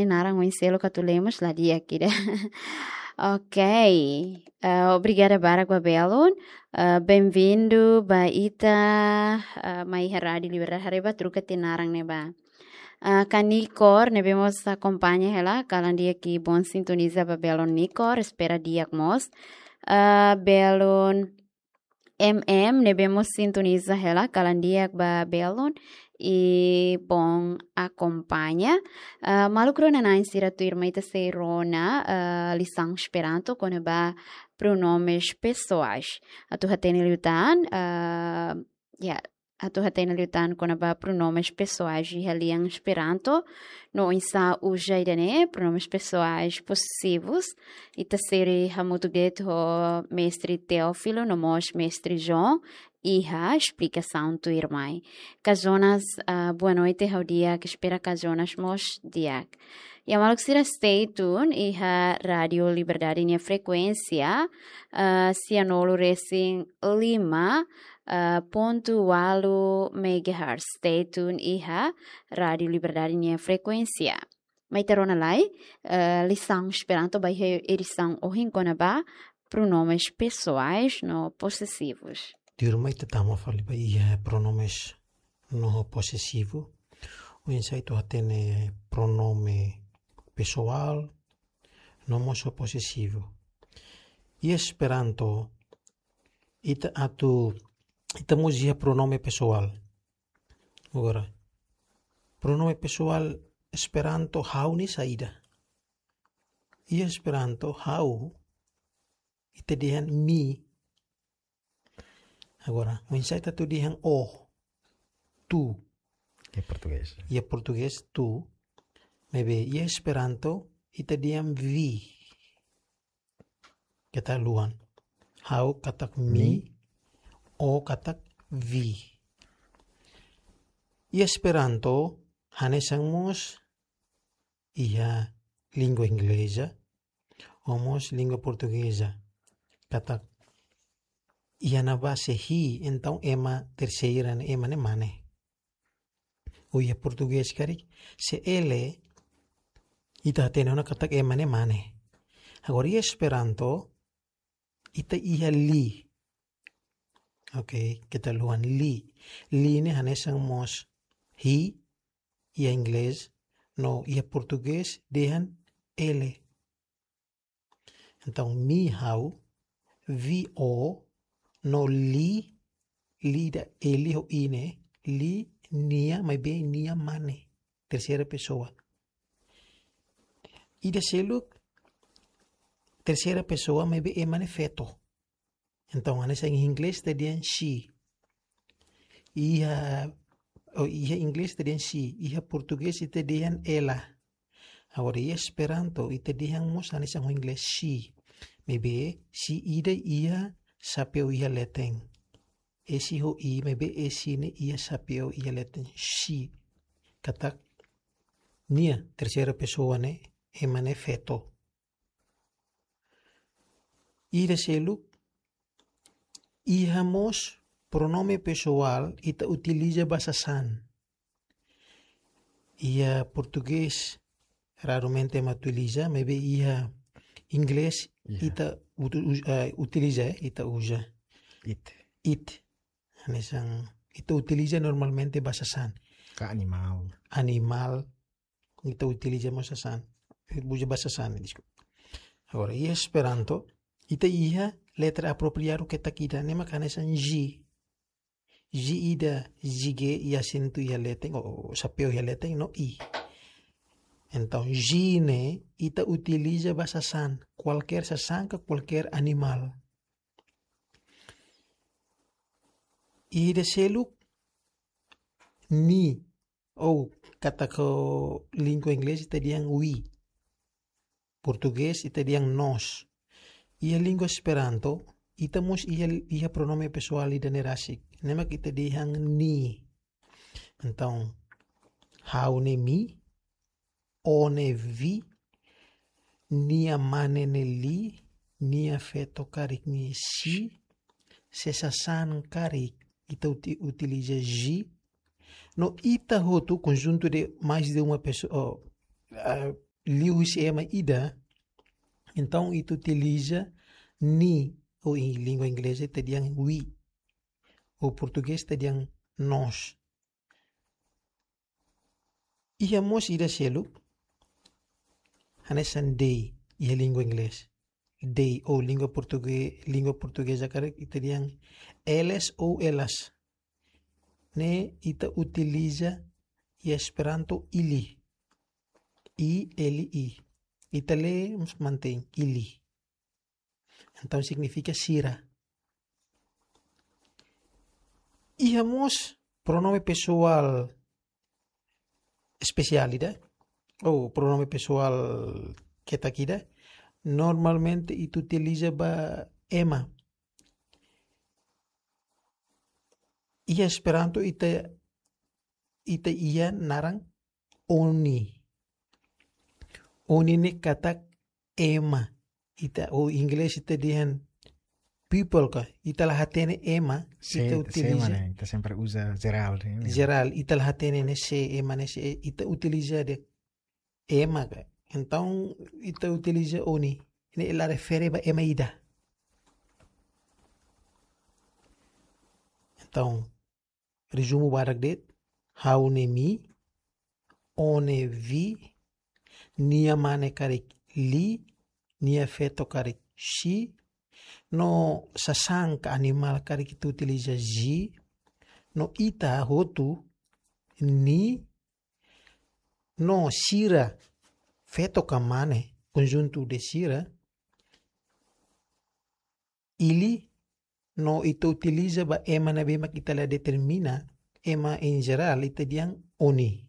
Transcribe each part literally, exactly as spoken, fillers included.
naran oin seluk atu lee mós la di'ak ida. Ok. Eh, obrigada barak ba belun. Eh, bem-vindo ba ita, eh, mai iha Rádio Liberdade, haree ba troka tiha naran ne'ebá. Eh, Kanikor ne'ebé mós akompaña hela, kalan di'ak, bom sintoniza ba belun Nikor, espera di'ak mós. Eh, belun M M ne'ebé mós sintoniza hela, kalan di'ak ba belun i bom akompaña. Ah, maluk rona-na'in sira, tuirmai ita sei rona, ah, lisaun Esperanto kona-ba pronomes pessoais. Atu hatene liután, ah, ya, atu hatene liután kona-ba pronomes pessoais iha lian Esperanto, no oinsá uza ida-ne'e, pronomes pessoais posesivus. Ita sei hamutuk de'it ho mestre Teófilo no mós mestre João iha esplikasaun tuirmai. Ka Jonas, ah, boa noite, ha'u di'ak, espera ka Jonas mós di'ak. Ya, maluk sira, stay tune iha Rádio Liberdade nia frekuénsia, ah, sianulu resin lima, ah, pontu ualu megahertz. Stay tune iha Rádio Liberdade nia frekuénsia. Mai ita rona lai, eh, lisaun Esperanto ba iha edisaun ohin kona-ba pronomes pessoais no posesivus. Tuirmai ita tama fali ba iha pronomes no posesivu. Oinsá ita hatene pronome pesoál no mós posesivu. Iha Esperanto, ita atu, ita mós iha pronome pesoál. Agora, pronome pesoál Esperanto ha'u ne'e saida? Iha Esperanto ha'u, ita dehan mi. Agora, oinsá ita atu dehan o, tu? Iha portugés. Iha portugés tu, maibé iha Esperanto ita dehan vi. Keta haluha. Ha'u katak mi, mi. O katak vi. Iha Esperanto hanesan mós iha língua ingleza, no mós língua portugeza. Katak iha ne'ebá se he, entaun ema terseira ne'e, ema ne'e mane. Ou iha portugés karik, se ele, ita hatene ona katak ema ne'e mane. Agora, iha Esperanto, ita iha li. Ok, keta haluha, li. Li ne'e hanesan mós he, iha inglés, no iha portugés dehan ele. Entaun, mi ha'u, vi o, no li, li ida, ele ho i ne'e, li nia, maibé nia mane. Terseira pesoa. Ida seluk, terseira pesoa, maibé ema ne'e feto. Entaun, hanesan iha inglés ita dehan she. Iha, oh, iha inglés ita dehan she. Iha portugés ita dehan ela. Agora, iha Esperanto, ita dehan mós hanesan ho inglés she. Maibé, she ida iha xapeu iha leten. S ho I, maibé S ne'e iha xapeu iha leten. She. Katak nia, terseira pesoa ne'e, ema ne'e feto. Ida seluk, iha mós pronome pesoál ita utiliza ba sasán. Iha portugés, raramente ema utiliza, maibé iha inglés, iha, ita utu-, us-, eh, utiliza, eh, ita uza. It. It. Hanesan, ita utiliza normalmente ba sasán. Ka animál. Animál, ita utiliza mós sasán. Uza ba sasán, deskulpa. Agora, iha Esperanto, ita iha letra apropriadu ketak ida, ne'e mak hanesan G. G ida, G iha asentu iha leten, ou xapeu iha leten, no I. Entaun, G ne'e, ita utiliza ba sasán, kualkér sasán ka kualkér animál. Ida seluk, ni, ou katak língua inglés ita dehan we. Portugés ita dehan nós. Iha língua Esperanto, ita mós iha, iha pronome pesoál ida ne'e rasik. Ne'e mak ita dehan ni. Entaun, ha'u ne'e mi, o ne'e vi, nia mane ne'e li, nia feto karik ne'e she, se sasán karik ita uti-, utiliza G, no ita hotu, conjunto de mais de uma pessoa, oh, ah, liu husi ema ida, entaun ita utiliza ni, ou em língua inglesa ita dehan we, ou portugés ita dehan nós. Iha mós ida seluk, hanesan they, iha língua inglés. They, ou língua portuguesa, língua portugeza karik ita dehan eles ou elas. Ne'e ita utiliza iha Esperanto ili. I, L, I. Ita lee mós mantein ili. Entaun signifika sira. Iha mós pronome pesoál espesiál ida, ou pronome pesoál ketak ida, normalmente ita utiliza ba ema. Iha Esperanto ita, ita iha naran oni. Oni ne'e katak ema. Ita, ou inglés ita dehan people ka, ita la hatene ema, se, ita se utiliza ema ne'e, ita sempre uza jerál ne'e. Jerál, ita la hatene ne'e se, ema ne'e se, ita utiliza de'it ema ka. Entaun ita utiliza oni, ne'e la refere ba ema ida. Entaun, rezumu badak de'it, ha'u ne'e mi, ó ne'e we, nia mane karik li, nia feto karik she, no sasán ka animál karik ita utiliza ze, no ita hotu ni, no sira, feto ka mane, konjuntu de sira, ili, no ita utiliza ba ema ne'ebé mak ita la determina, ema em geral, ita dehan oni.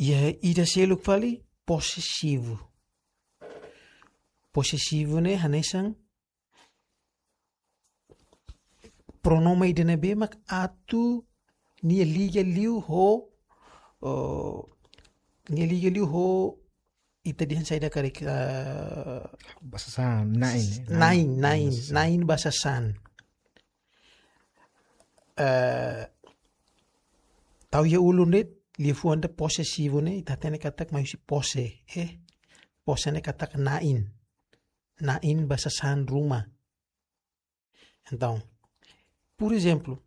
Iha ida seluk fali posesivu. Posesivu ne'e hanesan pronome ida ne'ebé mak atu nia liga liu ho, oh, nia liga liu ho ita dehan saida karik, eh, ba sasán, na'in, eh, na'in, na'in, na'in ba sasán. Na'in ba sasán. Eh, tau iha ulun de'it, liafuan ida posesivu ne'e, ita hatene katak mai husi pose, eh. Pose ne'e katak na'in. Na'in ba sasán ruma. Entaun, por ezemplu,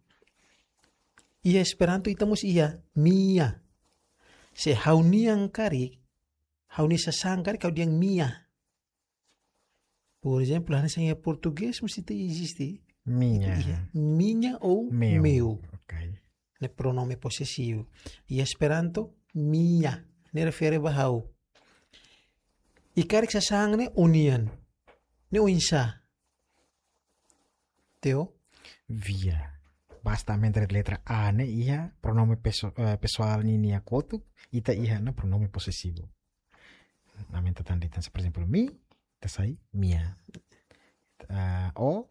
iha Esperanto ita mós iha minha. Se ha'u-nian karik, ha'u-nia sasán karik, ha'u dehan minha. Por ezemplu, hanesan iha portugés mós ita eziste. Minha. Iha minha ou meu. Meu. Ok. Ne'e pronome posesivu. Iha Esperanto, minha. Ne'e refere ba ha'u. I karik sasán ne'e ó-nian. Ne'e oinsá? Teo? Via. Basta aumenta de'it letra A ne'e iha pronome peso-, eh, pesoál ninia kotuk, ita iha ona pronome posesivu. Aumenta tan de'it, se, por ezemplu, mi, ita sai mia. Ah, ó,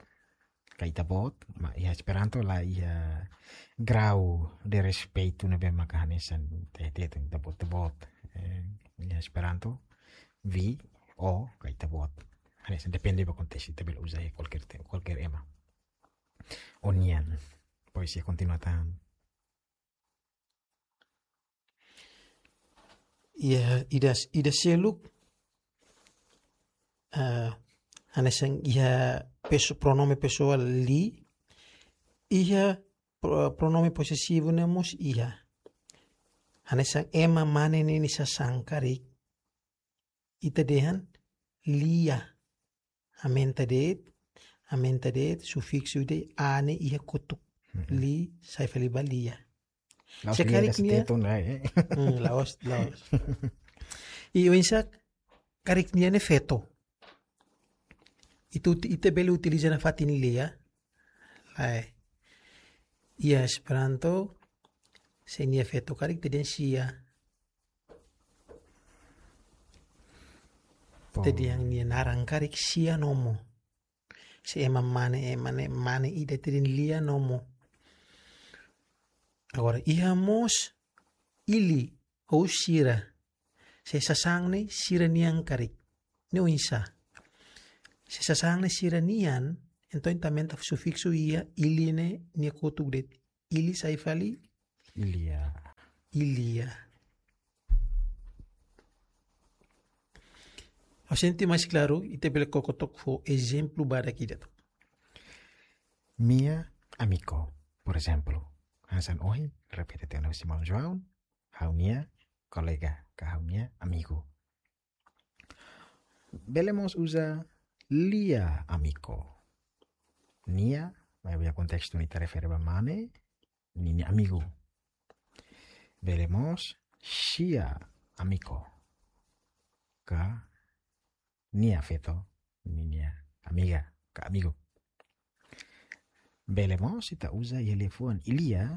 ka ita-boot, maibé iha Esperanto la iha grau de respeitu ne'ebé maka hanesan ita, ita, ita-boot, ita-boot. Eh, iha Esperanto, vi, ó, ka ita-boot. Hanesan depende ba kontestu, ita bele uza iha kualkér te-, kualkér ema. Ó-nian. Pois, iha kontinua tan. Iha ida, ida seluk, eh, hanesan iha peso-, pronome pesoál li, iha pro-, pronome posesivu ne'e mós iha. Hanesan ema mane ninia sasán karik, ita dehan lia. Aumenta de'it, aumenta de'it, sufiksu de'it, A ne'e iha kotuk. Mhm. Li, sai fali ba lia. La'ós se lia karik ida nia, setiap tahun, eh. Hmm, la'ós, la'ós. I oinsá karik nia ne'e feto. Ita uti-, ita bele utiliza nafatin lia. Lae. Iha Esperanto, se nia feto karik ita dehan sia. Ita dehan nia naran karik sia nomo. Se ema mane, ema ne'e mane ida ita dehan lia nomo. Agora, iha mós ili ou sira. Se sasán ne'e sira-nian karik. Ne'e oinsá? Se sasán ne'e sira-nian, entaun ita aumenta sufiksu iha ili ne'e nia kotuk de'it. Ili sai fali? Ilia. ilia. Ha'u sente mais klaru, ita bele koko took ho ezemplu badak ida took. Nia amigu, por ezemplu. Hanesan ohin, repete tiha ona husi maun João, ha'u-nia kolega, ka ha'u-nia amigu. Bele mós uza lia amigu. Nia, maibé iha kontestu ne'e ita refere ba mane, ninia amigu. Bele mós xia amigu. Ka nia feto, ninia amiga, ka amigu. Bele mós ita uza iha liafuan ilia,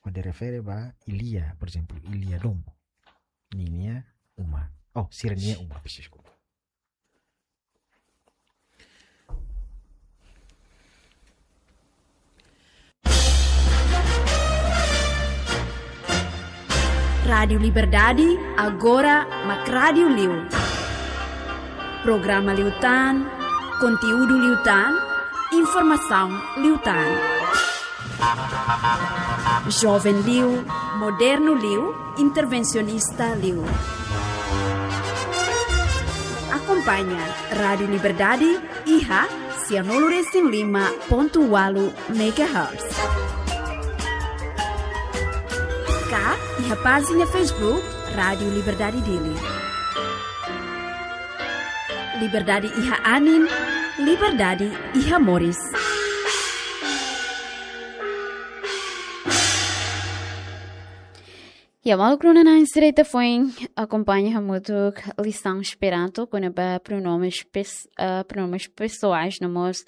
hodi refere ba ilia, por ezemplu, ilia domo. Ninia uma. Oh, sira-nia uma, peço desculpa. Rádiu Liberdade, agora mak rádiu liu. Programa liután, konteúdu liután, informasaun liután. Joven liu, modernu liu, intervensionista liu. Akompaña Rádiu Liberdade iha sianulu resin lima pontu ualu megahertz. Ka iha pájina Facebook Rádiu Liberdade Dili. Liberdade iha anin, liberdade iha moris. Ya, maluk rona-na'in sira, ita foin akompaña hamutuk lisaun Esperanto kona-ba pronomes pes-, ah, pronomes pesoais, no mós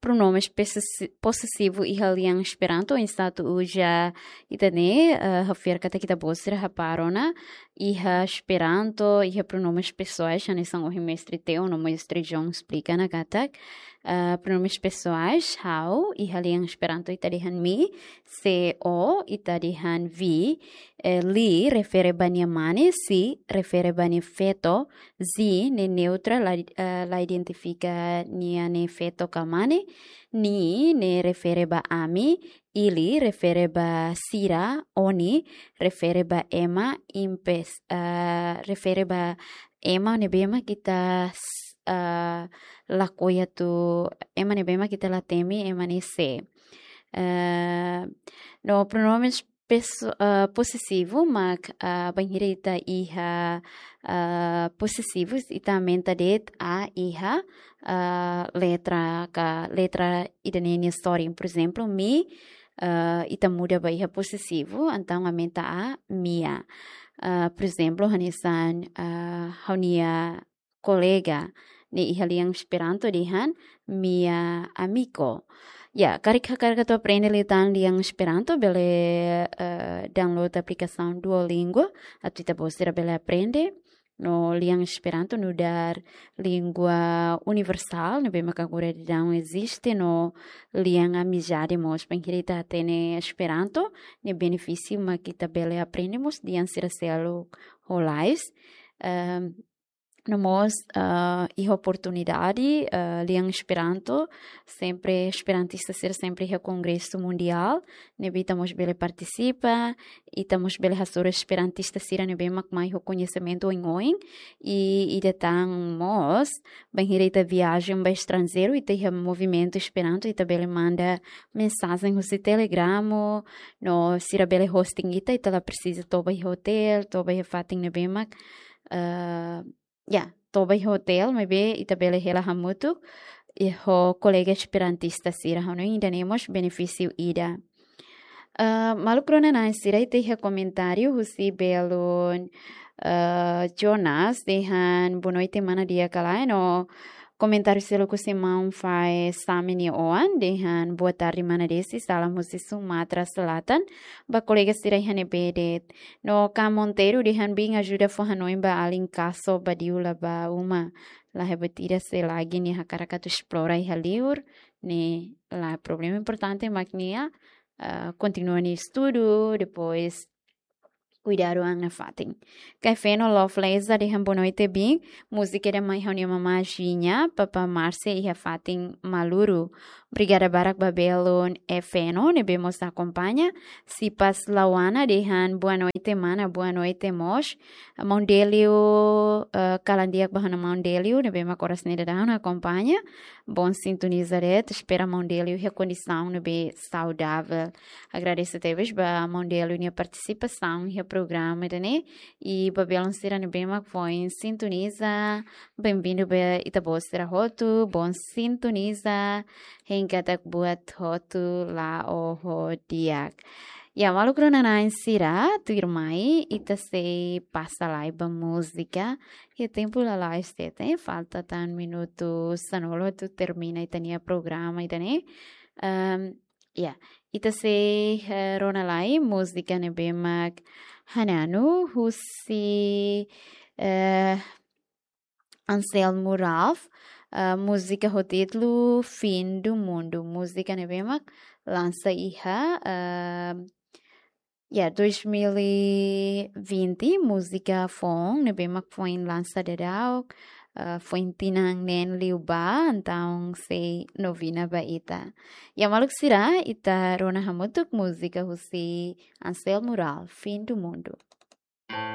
pronomes posesi-, posesivu iha lian Esperanto, oinsá atu uza ida-ne'e, ah, ha'u fiar katak ita-boot sira hapara ona, iha Esperanto, iha pronomes pesoais, hanesan ohin mestre Teo no mestre John esplika ona katak, ah, pronomes pesoais, ha'u, iha lian Esperanto ita dehan mi, se o, ita dehan vi, eh, li refere ba nia mane, si refere ba nia feto, zi ne'e neutra, la, eh, la identifika nia ne'e feto ka mane, ni ne'e refere ba ami, ili refere ba sira, oni refere ba ema, impes, eh, refere ba ema ne'ebé mak ita s-, eh, lakohi atu, ema ne'ebé mak ita la temi ema ne'e sé. Eh, no pronomes peso-, eh, posesivu mak, eh, bainhira ita iha, eh, posesivu, ita aumenta de'it a iha, eh, letra ka letra ida-ne'e nia sorin. Por ezemplu, mi, eh, ita muda ba iha posesivu, entaun aumenta a mia. Eh, por ezemplu, hanesan, eh, ha'u-nia kolega, ne'e iha lian Esperanto dehan mia amigo. Ya, karik hakarak atu aprende liután lian Esperanto, bele, eh, download aplikasaun Duolingo, atu ita-boot sira bele aprende. No lian Esperanto nu'udar língua universál, ne'ebé mak agora daudaun eziste, no lian amizade mós, bainhira ita hatene Esperanto, nia benefísiu mak ita bele aprende mós dehan sira seluk ho lalais. Ehm, no mós, ah, iha oportunidade, ah, lian Esperanto, sempre esperantista sira sempre iha kongresu mundiál, ne'ebé ita mós bele partisipa, ita mós bele hasoru esperantista sira ne'ebé mak mai ho koñesimentu oioin, i ida tan mós, bainhira ita viajen ba estranjeiru, ita iha movimentu Esperanto, ita bele manda mensajen husi Telegram, no sira bele hosting ita, ita la presiza toba iha hotél, toba iha fatin ne'ebé mak, ah, ya, toba iha hotél, maibé ita bele hela hamutuk, i ho kolega esperantista sira, hanoin ida-ne'e mós benefísiu ida. Ah, maluk rona-na'in sira, ita iha komentáriu husi belun, ah, Jonas, dehan boa noite, mana di'ak ka lae, no komentáriu seluk husi maun Fae Sami nia oan, dehan boa tarde, mana Desi, salam husi Sumatra Selatan, ba kolega sira iha ne'ebé de'it. No Ka Monteiro dehan bin ajuda fó hanoin ba alin kaso badiu la ba uma. La hebat ida se lagi nia hakarak atu esplora iha liur, ne'e la problema, importante mak nia, ah, kontinua nia estudu, depois kuidadu an nafatin. Kaifeno Love Leza dehan boa noite, bin. Múzika ida mai ha'u-nia mamá Jinha, Papa Márcia iha fatin Maluru. Obrigada barak ba belun Efeno ne'ebé mós akompaña. Sipas Lawana dehan boa noite mana, boa noite mós. Maun Delio, eh, kalan di'ak ba ha'u-nia maun Delio ne'ebé mak oras ne'e daudaun akompaña. Bom sintoniza de'it, espera maun Delio iha kondisaun ne'ebé saudavel. Agradese tebes ba maun Delio nia partisipasaun iha programa ida-ne'e. I ba belun sira ne'ebé mak foin sintoniza, bem-vindo ba ita-boot sira hotu, bom sintoniza, hein katak buat hotu la'o ho di'ak. Ya, maluk rona-na'in sira, tuirmai, ita sei pasa lai ba múzika. Iha tempu lalais de'it, eh, falta tan minutu sanulu atu termina ita-nia programa ida-ne'e. Ehm, ya, ita sei, eh, rona lai múzika ne'ebé mak hananu husi, eh, Anselmo Ralph, eh, múzika ho títulu Fim do Mundo. Múzika ne'ebé mak lansa iha, eh, ya, dois mil e vinte, múzika foun ne'ebé mak foin lansa daudaun, eh, foin tinan neen liubá, entaun sei novina ba ita. Ya, maluk sira, ita rona hamutuk múzika husi Anselmo Ralph, Fim do Mundo.